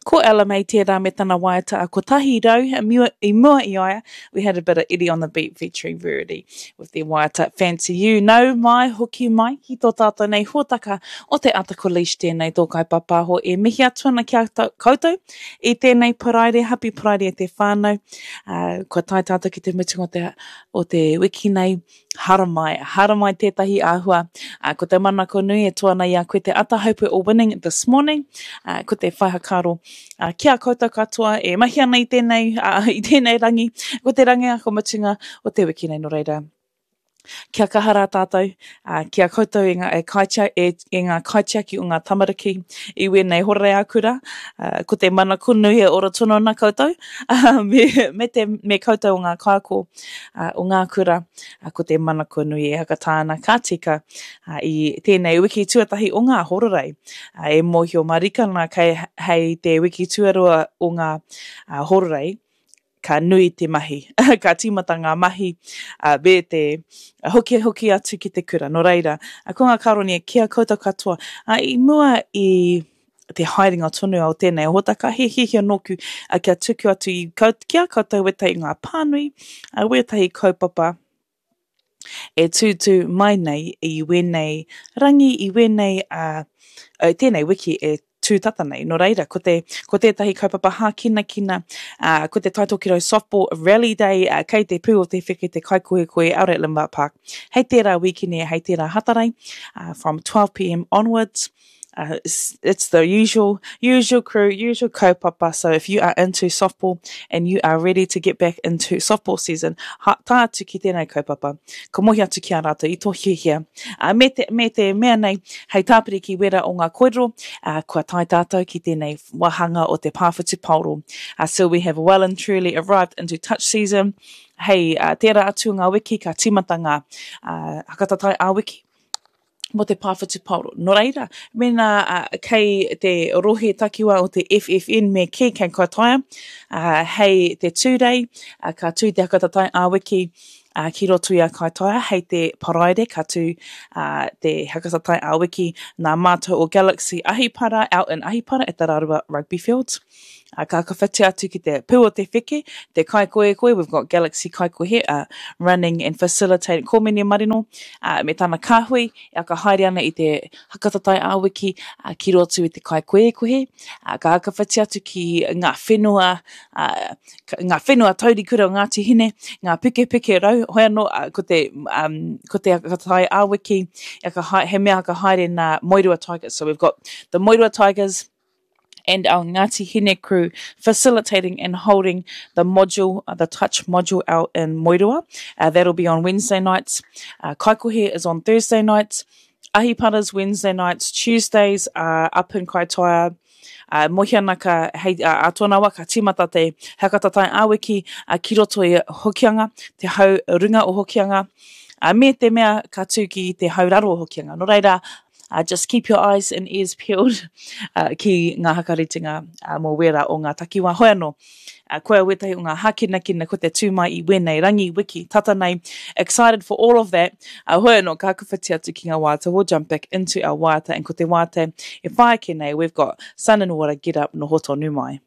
Ko Ella Mai tērā me tana waiata a 100 i mua i a ia, we had a bit of Eddie on the Beat featuring Verity with their waiata Fancy You. Nau mai, hoki mai ki tō tātou nei hōtaka o te Ata Ko Leish tēnei tō kaipapāho e mihi atu ana ki a koutou i tēnei Paraire, happy Paraire e te whānau. Uh, kua tae tātou ki te mutunga o te, o te wiki nei. Haramai, haramai tētahi āhua. Uh, ko te manako nui e toa ana i a koe te ata hope we're all winning this morning. Uh, ko te whai hakaaro uh, ki a koutou katoa e mahi ana i tēnei, uh, i tēnei rangi, ko te rangi ako mutunga o te wiki nei nō reira. Kia kaha rā tātou, uh, ki a koutou e ngā, e kaitia, e, e ngā kaitiaki o ngā tamariki i wēnei horere ā-kura, uh, ko te manako nui e ora tonu ana koutou, uh, me, me, te, me koutou o ngā kaiako, uh, o ngā kura, uh, ko te manako nui e hakatā ana ka tika uh, i tēnei wiki tuatahi o ngā hororei. Uh, e mōhio marika ana kei hei te wiki tuarua o ngā uh, hororei, ka nui te mahi, ka tīmata ngā mahi uh, me te hoki hoki atu ki te kura. Nō reira, ko ngā karoni ki a koutou katoa, uh, i mua i te haerenga tonu o tēnei hōtaka, he hiahia nōku uh, kia tuku atu i, ki a koutou wētahi ngā pānui, uh, wētahi kaupapa e tūtū mai nei i wēnei rangi, i wēnei, uh, tēnei wiki e tū tata nei. Nō reira, ko, te, ko tētahi kaupapa hākinakina, uh, ko te Taitokerau Softball Rally Day, uh, kei te pū o te wheke te kaikohekohe out at Lindvart Park. Hei tērā wīkene, hei tērā Hatarei, uh, from 12pm onwards. Uh, it's, it's the usual, usual crew, usual kaupapa. So if you are into softball and you are ready to get back into softball season, ha, tā atu ki tēnei kaupapa. Ka mohi atu ki a rātou i tō hiahia. Uh, me, te, me te mea nei, hei tāpiri ki wera o ngā koirero, uh, kua tae tātou ki tēnei wāhanga o te pā whutupaoro. Uh, so we have well and truly arrived into touch season. Hei uh, tērā atu o ngā wiki, ka tīmata ngā uh, hakatatai ā-wiki mō te pā whutupaoro. Nō reira, mēnā uh, kei te rohe takiwā o te FFN me kī kei Kaitaia, uh, hei te Tūrei, uh, ka tū te hakatatai ā-wiki uh, ki roto i a Kaitaia, hei te Paraire ka tū uh, te hakatatai ā-wiki nā mātou o Galaxy Ahipara out in Ahipara at the Rarua Rugby Fields. Uh, ka whakawhiti atu ki te pū o te wheke, te kaikoekoe, we've got Galaxy Kaikohe uh, running and facilitating Kōmene Marino uh, me tana kāhui e whakahaere ana i te hakatatai ā-wiki uh, ki roto i te kaikoekohe. Uh, ka whakawhiti atu ki ngā whenua, uh, ngā whenua taurikura o Ngāti Hine, ngā pukepike rau, hoi anō, uh, ko te, um, ko te hakatatai ā-wiki, he mea whakahaere nā Moerua Tigers. So we've got the Moerua Tigers, and our Ngāti Hine crew facilitating and holding the module, uh, the touch module out in Moerua. Uh, that'll be on Wednesday nights. Uh, Kaikohe is on Thursday nights. Ahipara's Wednesday nights, Tuesdays are up in Kaitaia. Uh, mohi ana ka, hei, uh, a tōna wā ka tīmata te hakatatai ā-wiki uh, ki roto i Hokianga, te hau runga o Hokianga, uh, me te mea ka tū ki te hau raro o Hokianga. Nō reira, Uh, just keep your eyes and ears peeled uh, ki ngā hakaritenga uh, mō wērā o ngā takiwā. Hoi anō, uh, koia wētahi o ngā hākinakina ko te tū mai i wēnei rangi, wiki, tata nei. Excited for all of that. Uh, hoi anō, ka hakawhiti atu ki ngā waiata. We'll jump back into our waiata and ko te waiata e whai ake nei, we've got Sun and Water, Get Up, noho tonu mai.